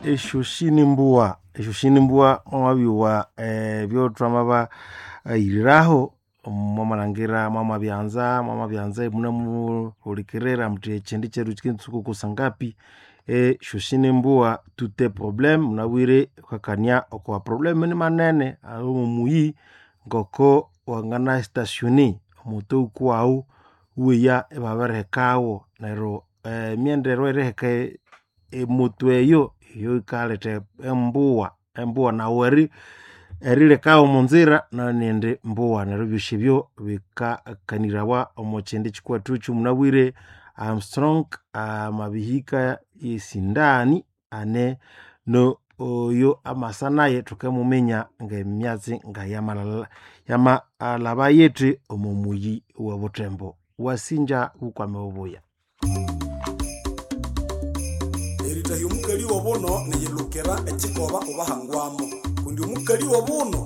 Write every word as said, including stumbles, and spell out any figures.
Esyoshini mbugha, esyoshini mbugha mwamabyowa ebyo thwamabaghiriraho mwamalhangira mwamabyanza, mwamabyanza imunemuhulikirira muthi ekyindi kyethu kyikendiritsuka oko sangapi. Esyoshini mbugha tout est problème, munabwire ghukakania okwa problème nimanene aghali omuyi ngoko wangana stationner omoto wukuwaghu iweya ibabirihekagho neryo emyendero eyeriheka emoto eyo, iyo yikaletha embugha, embugha nawu eri erilekagho omonzira nayo niyindi mbugha neryo ebyosi ebyo bikakanirawa omokyindi kyikwethu ekyomunabwire. Armstrong amabihika esindani ane no oyo amasa nayu thukemuminya ngemyatsi ngayamalha yamalhaba yithi omomuyi owe Buthembo. Wasinja bukwame bubuya. Eritahya omukali wobuno niyilukira ekikoba obahangwamo kundi omukali wobuno.